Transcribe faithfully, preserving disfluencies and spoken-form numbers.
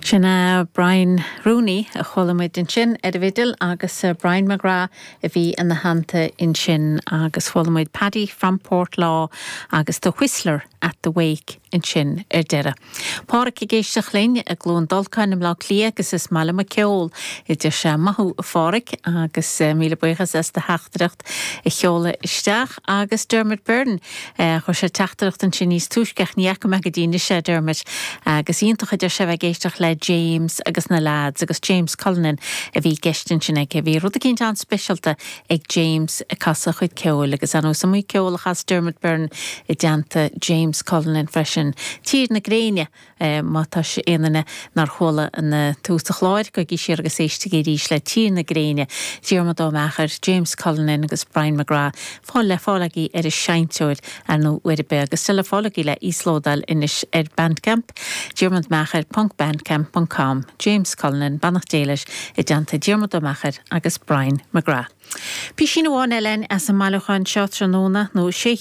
Sin Brian Rooney a chuala muid ansin ar an bhfidil agus Brian McGrath a bhí ina theannta ansin agus chuala muid Paddy from Portlaw agus The Whistler at the Wake ansin ar deireadh. Pádraic ag éisteacht linn i gCluain Dolcáin i mBleá Cliath agus is maith liom a cheol idir sé maithú a Phádraic agus míle buíochas as do theachtaireacht a sheoladh isteach agus Dermot Byrne chuir sé teachtaireacht ansin níos túisce ní fhaca mé go dtí sé Dermot agus iontach idir sé bheith ag éisteacht le James agus na lads agus James Cullinan a bhí i gceist ansin aige bhí rud éicint an-speisialta ag James ag casadh a chuid ceoil agus an is iomaí ceol a chas Dermot Byrne i dteannta James Cullinan freisin. Tír na Gréine má tá sé aon nár chuala an tús an chláir gabhaigí siar agus éistigí arís le Tír na Gréine, Diarmuid Ó Meachair, James Cullinan agus Brian McGrath, fáil le fáil agaibh ar an seinnteoir ar nó uair be agus le fáil agaibh le íoslódáil anois ar Bandcamp, diarmuidmeachair.bandcamp.com, James Cullinan beannacht Dé leis i dteannta Diarmuid Ó Meachair agus Brian McGrath. Písín amháin eile as an mbailiúchán seo tráthnóna nó sé